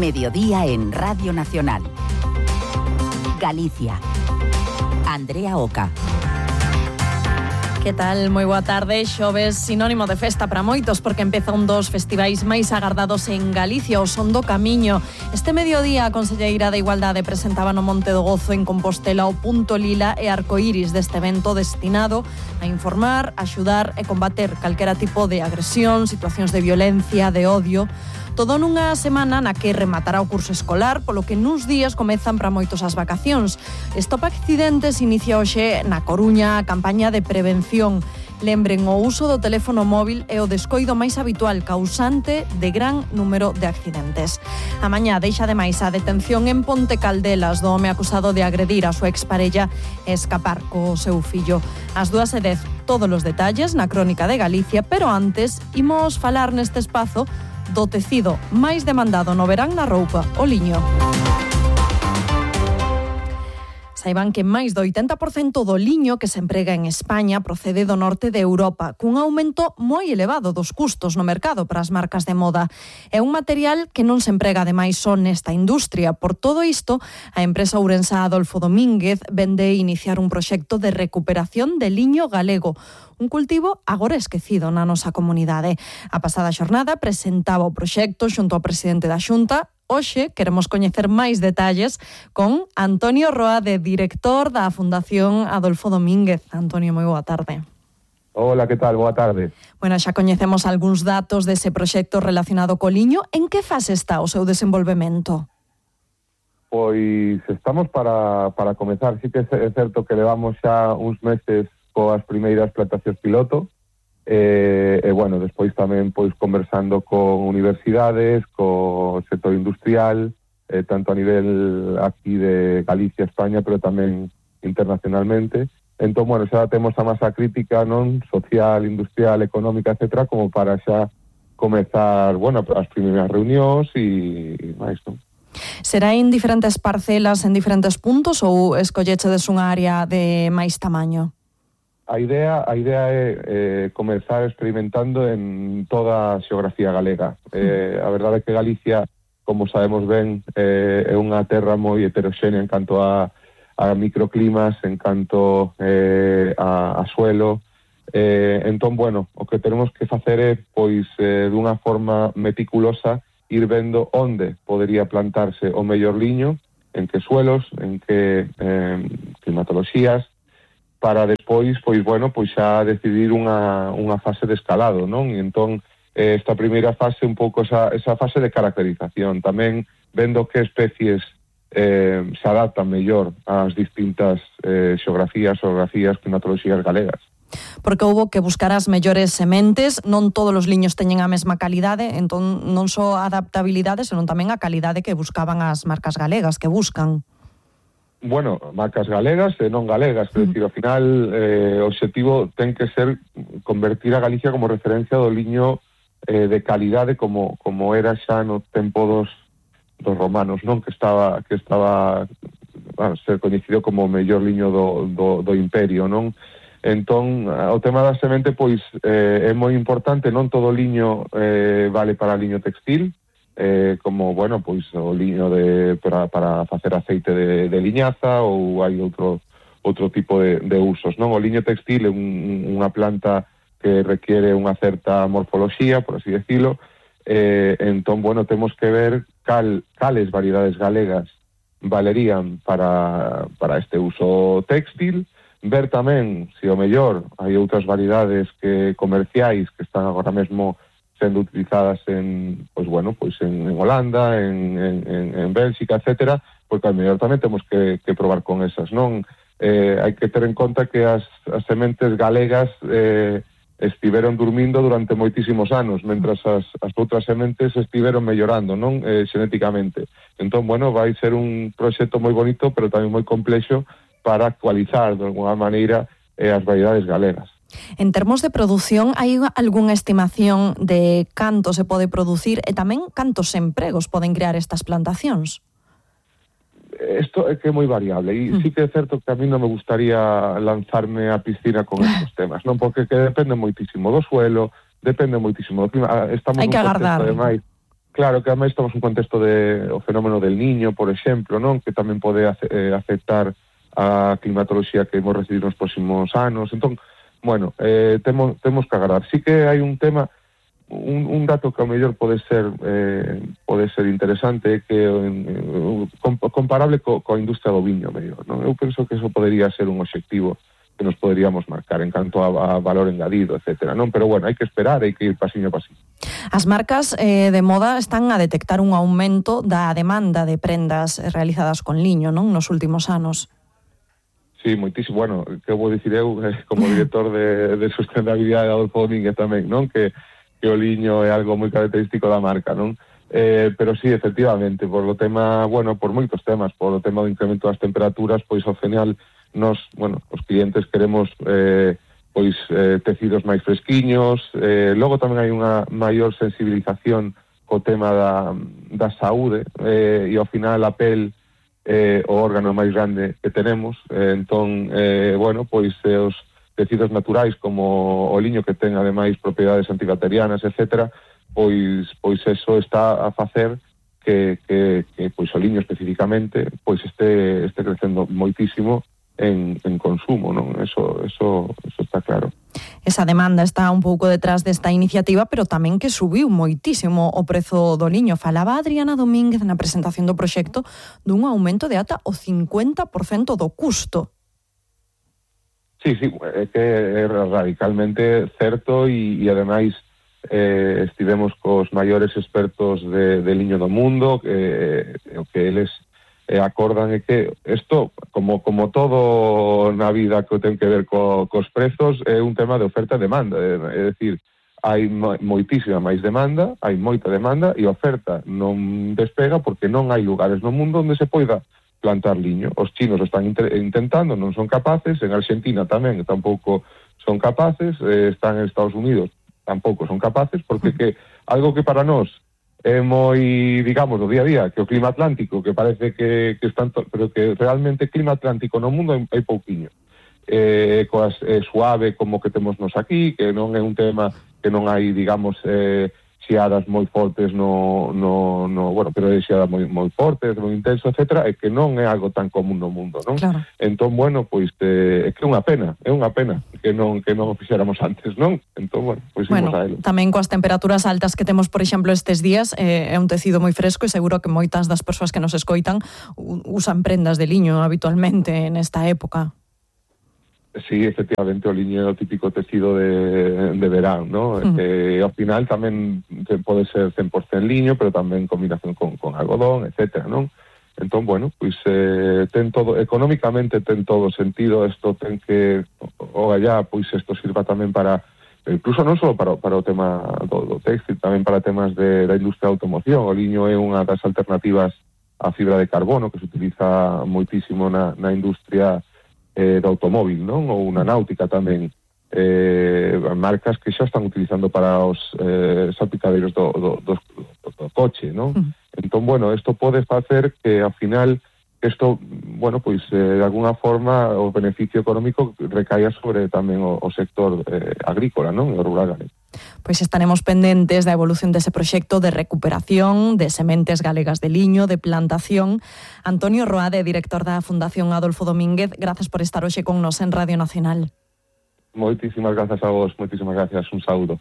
Mediodía en Radio Nacional. Galicia. Andrea Oca. Que tal? Moi boa tarde. Xoves sinónimo de festa para moitos porque empeza un dos festivais máis agardados en Galicia, o Son do Camiño. Este mediodía a Conselleira de Igualdade presentaba no Monte do Gozo en Compostela o punto lila e arcoíris deste evento destinado a informar, axudar e combater calquera tipo de agresión, situacións de violencia, de odio. Todo nunha semana na que rematará o curso escolar, polo que nuns días comezan para moitos as vacacións. Stop Accidentes inicia hoxe na Coruña a campaña de prevención. Lembren, o uso do teléfono móvil é o descoido máis habitual causante de gran número de accidentes. A mañá deixa ademais a detención en Ponte Caldelas do home acusado de agredir a súa exparella e escapar co seu fillo. Ás 2:10 todos os detalles na Crónica de Galicia, pero antes imos falar neste espazo do tecido máis demandado no verán na roupa, o liño. Saiban que máis do 80% do liño que se emprega en España procede do norte de Europa, cun aumento moi elevado dos custos no mercado para as marcas de moda. É un material que non se emprega ademais só nesta industria. Por todo isto, a empresa ourensa Adolfo Domínguez vende iniciar un proxecto de recuperación de liño galego, un cultivo agora esquecido na nosa comunidade. A pasada xornada presentaba o proxecto xunto ao presidente da Xunta. Hoxe queremos coñecer máis detalles con Antonio Roade, director da Fundación Adolfo Domínguez. Antonio, moi boa tarde. Hola, que tal? Boa tarde. Bueno, xa coñecemos algúns datos dese proxecto relacionado co liño. En que fase está o seu desenvolvemento? Pois estamos para comezar. Sí que é certo que levamos xa uns meses coas primeiras plantacións piloto, e bueno, despois tamén pois conversando con universidades, co sector industrial, tanto a nivel aquí de Galicia, España, pero tamén internacionalmente. Entón, bueno, xa temos a masa crítica, non, social, industrial, económica, etcétera, como para xa comezar, bueno, as primeiras reunións e máis, non? Será en diferentes parcelas, en diferentes puntos, ou escollechedes unha área de máis tamaño? A idea é comezar experimentando en toda a xeografía galega. A verdade é que Galicia, como sabemos ben, é unha terra moi heteroxénea en canto a microclimas, en canto a suelo. Entón, bueno, o que tenemos que facer é, pois, dunha forma meticulosa, ir vendo onde podería plantarse o mellor liño, en que suelos, en que climatoloxías, para despois, pois bueno, pois xa decidir unha fase de escalado, non? E entón, esta primeira fase, un pouco esa fase de caracterización, tamén vendo que especies se adaptan mellor ás distintas xeografías, climatoloxías galegas. Porque houbo que buscar as mellores sementes, non todos os liños teñen a mesma calidade, entón non só a adaptabilidade, senón tamén a calidade que buscaban as marcas galegas, que buscan. Bueno, marcas galegas e non galegas, é dicir, ao final o obxectivo ten que ser convertir a Galicia como referencia do liño de calidade como era xa no tempo dos romanos, non? Que estaba bueno, ser coñecido como o mellor liño do imperio, non? Entón, o tema da semente, pois, é moi importante, non todo liño vale para liño textil, como, bueno, pois o liño para facer aceite de liñaza, ou hai outro tipo de usos, non? O liño textil é unha planta que requiere unha certa morfoloxía, por así decirlo, entón, bueno, temos que ver cales variedades galegas valerían para este uso textil, ver tamén se o mellor hai outras variedades comerciais que están agora mesmo sendo utilizadas en Holanda, en Bélxica, etcétera, porque ao mellor tamén temos que probar con esas, non? Hai que ter en conta que as sementes galegas estiveron durmindo durante moitísimos anos, mentras as outras sementes estiveron mellorando, non? Xenéticamente. Entón, bueno, vai ser un proxecto moi bonito, pero tamén moi complexo para actualizar, de alguna maneira, as variedades galegas. En termos de produción, hai algunha estimación de canto se pode producir e tamén cantos empregos poden crear estas plantacións? Isto é que é moi variable e sí que é certo que a mí non me gustaría lanzarme á piscina con estes temas, non? Porque que depende moitísimo do suelo, depende moitísimo do clima. Hai que agardar. Claro que ademais estamos nun contexto de o fenómeno del Niño, por exemplo, non? Que tamén pode afectar a climatoloxía que vamos recibir nos próximos anos. Entón, bueno, temos que agardar. Sí que hai un tema, un dato que ao mellor pode ser interesante, que comparable coa industria do viño, mellor, non? Eu penso que eso podería ser un obxectivo que nos poderíamos marcar en canto a valor engadido, etcétera, non? Pero bueno, hai que esperar, hai que ir pasiño a pasiño. As marcas de moda están a detectar un aumento da demanda de prendas realizadas con liño, non? Nos últimos anos. Sí, moitísimo. Bueno, que vou dicir eu, como director de sustentabilidade de Adolfo Domínguez tamén, non? Que o liño é algo moi característico da marca, non? Pero sí, efectivamente, por o tema, bueno, por moitos temas, por o tema do incremento das temperaturas, pois ao final nos, bueno, os clientes queremos tecidos máis fresquiños, logo tamén hai unha maior sensibilización co tema da saúde, e ao final a pel o órgano máis grande que tenemos, entón, bueno, pois os tecidos naturais como o liño, que ten ademais propiedades antibacterianas, etcétera, pois eso está a facer que pois o liño especificamente pois este crecendo moitísimo en consumo, non? Eso está claro. Esa demanda está un pouco detrás desta iniciativa, pero tamén que subiu moitísimo o prezo do liño. Falaba Adriana Domínguez na presentación do proxecto dun aumento de ata o 50% do custo. Sí, é que é radicalmente certo e ademais estivemos cos maiores expertos de liño do mundo, o que eles acordan é que isto, como todo na vida que ten que ver cos prezos, é un tema de oferta e demanda, é dicir, hai moitísima máis demanda, hai moita demanda e a oferta non despega porque non hai lugares no mundo onde se poida plantar liño. Os chinos están intentando, non son capaces, en Argentina tamén tampouco son capaces, están en Estados Unidos, tampouco son capaces, porque que algo que para nós é moi, digamos, do día a día, que o clima atlántico, que parece que están, pero que realmente clima atlántico no mundo hai pouquiño. Suave como que temos nos aquí, que non é un tema que non hai, digamos, xeadas moi fortes bueno, pero é xeada moi fortes, moi intenso, etcétera, e que non é algo tan común no mundo, non? Claro. Entón, bueno, pois é que é unha pena que non o fixéramos antes, non? Entón, bueno, pois imos a elo. Tamén coas temperaturas altas que temos, por exemplo, estes días, é un tecido moi fresco e seguro que moitas das persoas que nos escoitan usan prendas de liño habitualmente nesta época. Sí, efectivamente, o liño é o típico tecido de verán, ¿no? Ao final tamén pode ser 100% liño, pero tamén en combinación con algodón, etcétera, non? Entón, bueno, pois ten todo, económicamente ten todo sentido, isto ten que, pois isto sirva tamén para, incluso non só para o tema do textil, tamén para temas da industria da automoción. O liño é unha das alternativas á fibra de carbono que se utiliza moitísimo na industria do automóvil, non? Ou na náutica tamén, marcas que xa están utilizando para os salpicadeiros do coche, non? Entón, bueno, isto pode facer que ao final isto, bueno, pois de alguna forma o beneficio económico recaia sobre tamén o sector agrícola, non? O rural galego. Pois estaremos pendentes da evolución dese proxecto de recuperación de sementes galegas de liño, de plantación. Antonio Roade, director da Fundación Adolfo Domínguez, grazas por estar hoxe con nos en Radio Nacional. Moitísimas grazas a vos, moitísimas gracias, un saúdo.